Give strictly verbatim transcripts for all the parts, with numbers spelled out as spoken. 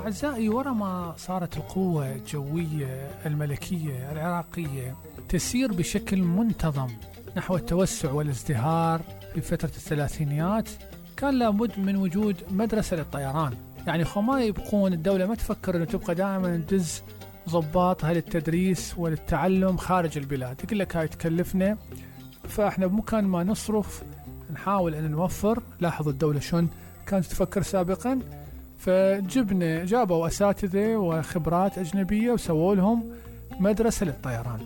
أعزائي، ورا ما صارت القوة الجوية الملكية العراقية تسير بشكل منتظم نحو التوسع والازدهار في فترة الثلاثينيات، كان لابد من وجود مدرسة للطيران. يعني خو ما يبقون الدولة ما تفكر أنه تبقى دائما ندز ضباطها للتدريس وللتعلم خارج البلاد، يقول لك هاي تكلفنا، فإحنا بمكان ما نصرف نحاول أن نوفر. لاحظوا الدولة شون كانت تفكر سابقا، فجبنا جابوا أساتذة وخبرات أجنبية وسووا لهم مدرسة للطيران.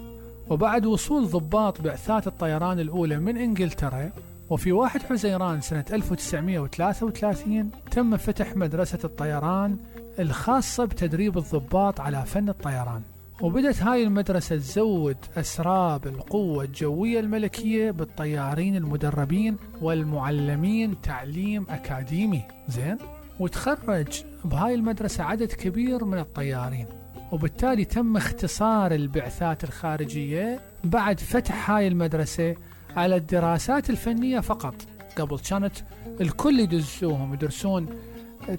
وبعد وصول ضباط بعثات الطيران الأولى من إنجلترا، وفي واحد حزيران سنة ألف وتسعمائة وثلاثة وثلاثين تم فتح مدرسة الطيران الخاصة بتدريب الضباط على فن الطيران. وبدت هاي المدرسة تزود أسراب القوة الجوية الملكية بالطيارين المدربين والمعلمين تعليم أكاديمي زين، وتخرج بهاي المدرسة عدد كبير من الطيارين، وبالتالي تم اختصار البعثات الخارجية بعد فتح هاي المدرسة على الدراسات الفنية فقط. قبل كانت الكل يدرسوهم يدرسون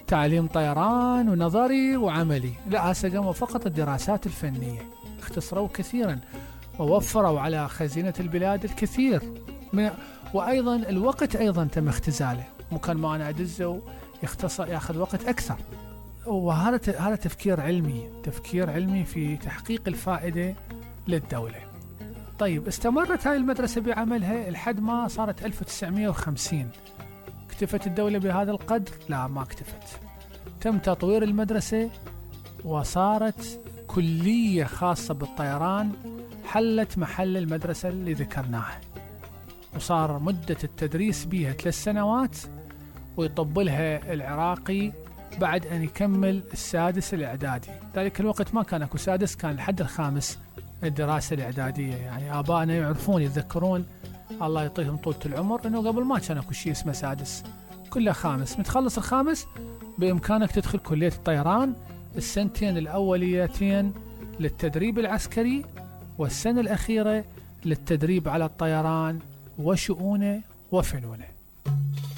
تعليم طيران ونظري وعملي، لا هسه قاموا فقط الدراسات الفنية. اختصروا كثيرا ووفروا على خزينة البلاد الكثير من، وأيضا الوقت أيضا تم اختزاله، مكان ما أنا أدزه يختصر يأخذ وقت أكثر. وهذا هذا تفكير علمي تفكير علمي في تحقيق الفائدة للدولة. طيب استمرت هاي المدرسة بعملها لحد ما صارت ألف وتسعمائة وخمسين. اكتفت الدولة بهذا القدر؟ لا، ما اكتفت. تم تطوير المدرسة وصارت كلية خاصة بالطيران، حلت محل المدرسة اللي ذكرناها، وصار مدة التدريس بها ثلاث سنوات، ويطبلها العراقي بعد أن يكمل السادس الإعدادي. ذلك الوقت ما كان أكو سادس، كان لحد الخامس الدراسة الإعدادية. يعني آبائنا يعرفون يتذكرون الله يعطيهم طولة العمر أنه قبل ما كان أكو شيء اسمه سادس، كله خامس. متخلص الخامس بإمكانك تدخل كلية الطيران، السنتين الأوليتين للتدريب العسكري والسنة الأخيرة للتدريب على الطيران وشؤونه وفنونه.